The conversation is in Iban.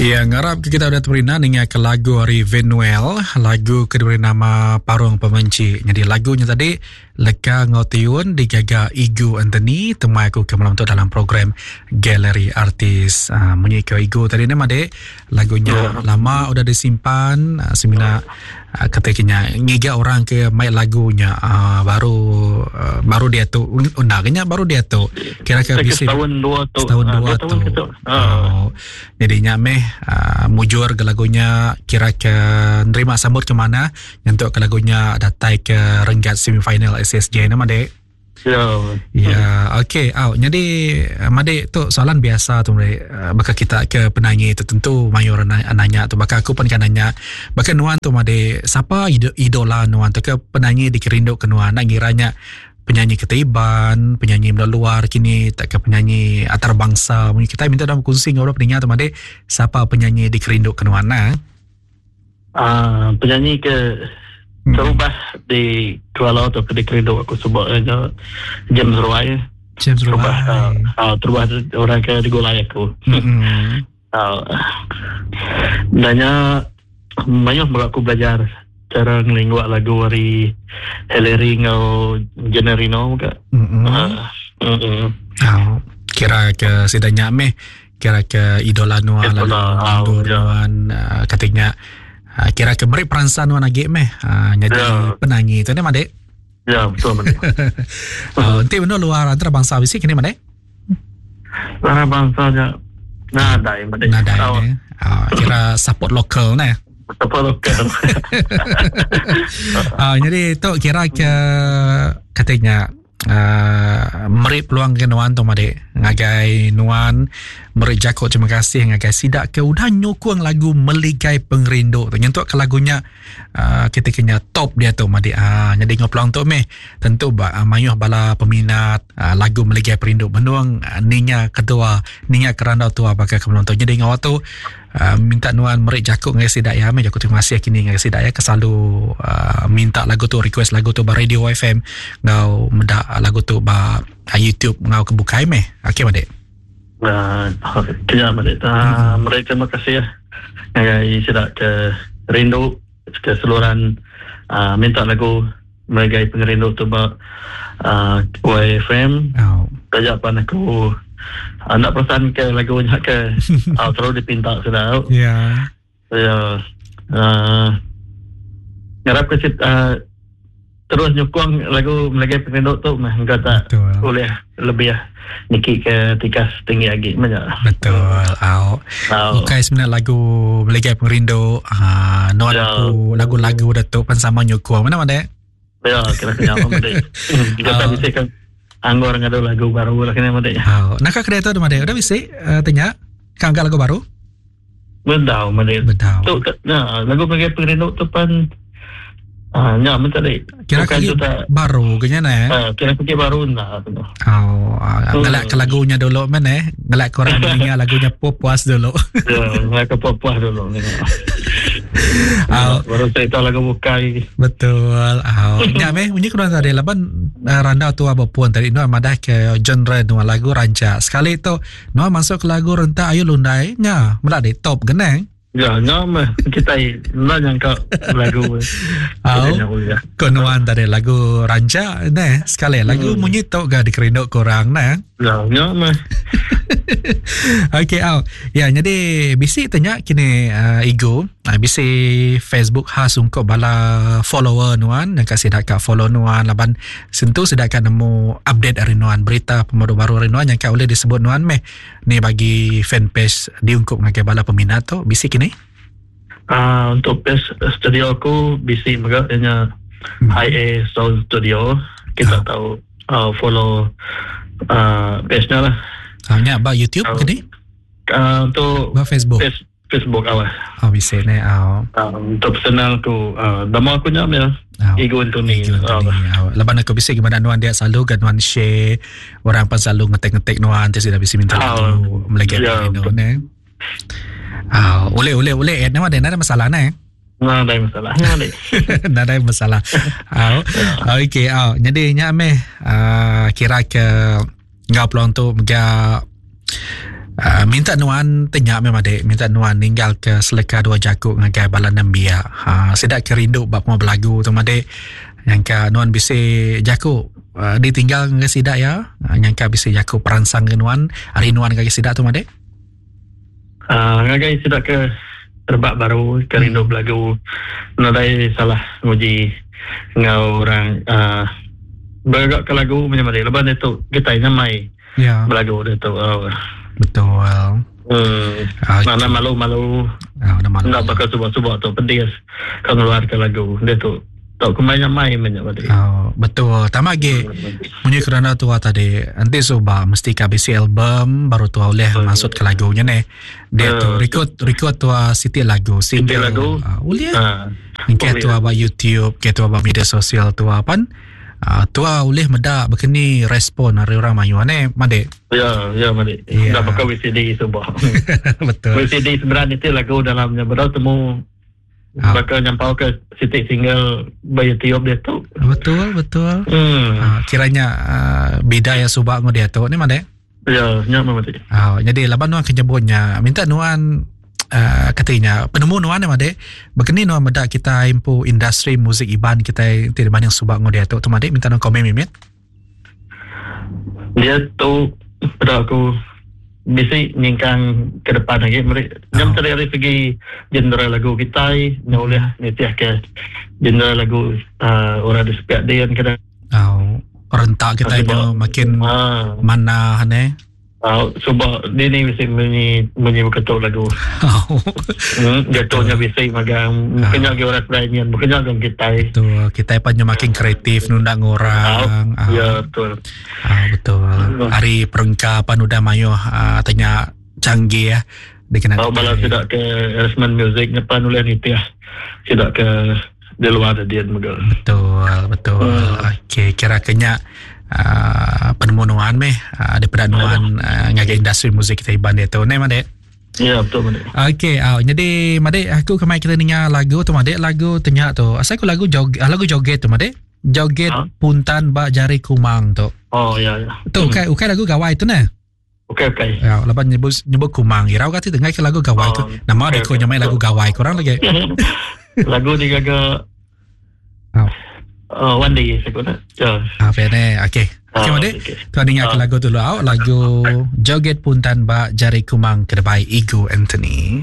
Ya, ngarap ke kita udah terperina ninga ke lagu ari Venuel, lagu ke diberi nama Parung Pemenci. Jadi lagunya tadi leka ngau tiun digaga Igu Anthony, temai aku ke malam tu dalam program Galeri Artis. Uh, munyi ke Igu tadi ni madik, lagunya ya. lama udah disimpan, uh, semina uh, kata kenya ngiga orang ke mai lagunya uh, baru uh, baru dia tu undang nya baru dia tu kira ke bisi setahun dua tu setahun ah, dua tu oh. Jadi nya meh uh, mujur ke lagunya kira ke nerima sambut ke mana nyentuk ke lagunya datai ke renggat semifinal SSJ nama dek. Ya. Ya, okey. Au, jadi eh, madik tu soalan biasa tu meri eh, baka kita ke penanyi tu tentu mayu orang nanya tu baka aku pun kan nanya. Baka nuan tu madik siapa idola nuan tu ke penanyi dikerindu ke nuan nak ngiranya penyanyi ketiban, penyanyi menua luar kini tak ke penyanyi antarabangsa. Mungkin kita minta dalam kongsi dengan orang peningat tu madik siapa penyanyi dikerindu ke nuan nah. Uh, penyanyi ke hmm. terubah di Kuala tu ke dikerindu aku sebab uh, James Roy. James Roy. Terubah, uh, uh, terubah orang ke digulai aku. Hmm. Uh, nanya mayuh mega aku belajar cara ngelinggua lagu ari Hillary enggau Generino mega. Mm-hmm. Uh, mm-hmm. Oh, kira ke sida nya meh kira ke idola nuan lalu oh, ya. nuan uh, katanya uh, kira ke beri peransang nuan agi meh uh, jadi ya. penanyi tu ne madik. Ya betul madik. uh, enti benda luar antarabangsa bisi kini madik. Antarabangsa nya nadai madik. Nadai. Oh. Uh, kira support local ne. Support local. uh, jadi tu kira ke katanya uh, meri peluang ke nuan tu madik ngagai nuan meri jako terima kasih ngagai sidak ke udah nyukung lagu Meligai Pengerindu tu nyentuk ke lagunya uh, kita kena top dia tu madik ah uh, jadi ngau peluang tu meh tentu ba uh, mayuh bala peminat uh, lagu Meligai Pengerindu benung uh, ninga ketua ninga kerandau tua baka ke peluang tu jadi ngau tu uh, minta nuan meri jako ngagai sida ya meh jako terima kasih kini ngagai sida ya ke selalu uh, minta lagu tu request lagu tu ba radio FM ngau meda lagu tu ba uh, YouTube ngau ke bukai meh okey madik uh, kena madik uh, meri terima kasih ya ngagai sida ke rindu ke seluruhan uh, minta lagu Meligai Pengerindu tu ba uh, YFM. Oh. Taja pan aku uh, nak perasan ke lagu nya ke uh, terlalu dipinta sudah. Ya. Yeah. Ya. Uh, ngarap ke uh, terus nyukung lagu Meligai Pengerindu tu mah engkau tak Betul. boleh lebih niki ke tikas tinggi lagi menya. Betul. Au. Au. Bukan sebenarnya lagu Meligai Pengerindu, ah nuan Ya. aku lagu-lagu Datuk pan sama nyukung. Mana mana? Ya, kira kena apa made. Kita Au. bisa kan anggur ngadu lagu baru lah kena made. Au. Nak ke tu made. Udah bisi uh, tanya kan lagu baru? Bedau made. Bedau. Tu nah, lagu Meligai Pengerindu tu pan ah nya men tadi. Kira Bukan kaki tu tak baru kenya ne. ah, kira kaki baru nah tu. Oh, ah, ngelak ke lagunya dulu men eh. Ngelak korang mendengar lagunya puas dulu. Ya, ngelak ke puas dulu ni. Au. Baru cerita lagu bukai. Betul. Oh, nya meh munyi kurang tadi laban uh, randau tu apa pun tadi nuan madah ke genre nuan lagu rancak. Sekali tu nuan masuk ke lagu rentak ayu lundai nya melak di top genang. Ya, nya meh kita enda nyangka lagu. Au. Ya. Ko nuan tadi lagu rancak neh sekali lagu munyi tu ga dikerindu korang neh. Ya, nya meh. Okey au. Ya jadi bisi tanya kini uh, Igu, uh, bisi Facebook khas untuk bala follower nuan yang kasih dak follow nuan laban sentu sida ka nemu update ari nuan berita pemadu baru ari nuan yang ka boleh disebut nuan meh ni bagi fanpage diungkup ngagai bala peminat tu bisi kini. Ah, untuk page studio aku bisi mega ianya IA Sound Studio. Kita Ah. tahu uh, follow uh, page-nya lah. Ha nya ba YouTube Oh. kini, Uh, untuk ba Facebook. page Facebook awal. Oh bisi ne au. Uh, untuk personal aku uh, nama aku nya ya. Au. Igu Anthony. Igu Anthony. Ah. Au. Laban aku bisi gimana nuan dia selalu kan nuan share orang pan selalu ngetek-ngetek nuan tu sudah bisi minta Ah. lagu melegai Ya, no ne. Ah, boleh boleh boleh add nama dia ada masalah ne. Nah, ada masalah. Nah, ada. Nadai masalah. Au. Okey, au. Jadi nya meh ah, kira ke ngau peluang tu mega Uh, minta nuan tanya meh madik, minta nuan ninggal ke seleka dua jaku ngagai bala nembiak. Ha, sida ke rindu ba pengawa belagu tu madik. Nyangka nuan bisi jaku uh, ditinggal ngagai sida ya. Uh, nyangka bisi jaku peransang ke nuan, ari nuan ngagai sida tu madik. Uh, ngagai sida ke rebak baru ke rindu belagu nadai salah nguji enggau orang uh, beragak ke lagu macam madik. Lepas itu kita nyamai Ya. Belagu dia tu. Oh. Betul. Hmm. Okay. Mana malu-malu. Ah, malu. Enggak bakal subak-subak tu pedis kau ngeluarkan lagu dia tu. Tok kemai nyamai banyak tadi. Oh, betul. Tambah lagi munyi kerana tua tadi. Nanti subak mesti ka bisi album baru tua boleh hmm. masuk ke lagunya ni. Dia tu record record tua siti lagu single. Siti lagu. Uh, boleh. Uh, Engke tua ba YouTube, ke tua ba media sosial tua pan. Uh, tua ulih meda bekeni respon ari orang mayuh ne madik. Ya, ya madik. Ya. Dah pakai VCD sebab. Betul. VCD sebenarnya itu lagu dalamnya baru temu Ah. bakal nyampau ke sitik single ba YouTube dia tu. Betul, betul. Hmm. Uh, kiranya uh, bida ya subak ngau dia tu ni madik. Ya, nya madik. Uh, jadi laban nuan kenyebutnya minta nuan uh, katanya penemu nuan ni madik begini nuan meda kita impu industri muzik Iban kita ti dibanding subak ngau dia tu tu madik minta nuan komen mimit. Dia tu pada aku bisi nyingkang ke depan lagi mereka jam Oh. tadi dari segi genre lagu kita nya boleh nitih ke genre lagu uh, orang di sepiak dia kan Oh, rentak kita Sebab- nyo makin ha mana ne. uh, sebab dia ni bisi bunyi bunyi berketuk lagu Oh. jatuhnya bisi magang mungkin lagi orang lain mungkin lagi kita Betul, kita pan nyo makin kreatif nundang orang. Ah, ya betul ah, betul. Hari perengkapan udah mayuh ah, tanya canggih ya. Dikenal. Oh, malah tidak ke arrangement music nyepan oleh nitih tidak ke di luar dia juga. Betul, betul. Okey, kira kenya uh, penemu nuan meh uh, daripada nuan uh, ngagai industri muzik kita Iban dia tu. Ne madik. Ya betul betul. Okey, jadi madik aku kemai kita dengar lagu tu madik, lagu tenya tu. Asal aku lagu jog, ah, lagu joget tu madik. Joget Ha? puntan bak jari kumang tu. Oh ya ya. Tu ukai ukai lagu gawai tu ne. Okey okey. Ya, lepas nyebut nyebut kumang. Irau kata dengar ke lagu gawai tu. Oh, Nama okey, dia ko okey. nyamai lagu gawai kurang lagi. Lagu digaga Oh. uh, one day saya guna. Ya. Ah, ne. Okey. Okey, Ah, madik. okey. Kau dengar ke Ah. lagu tu dulu. Lagu Joget Puntan Bak Jari Kumang Kedebai Igu Anthony.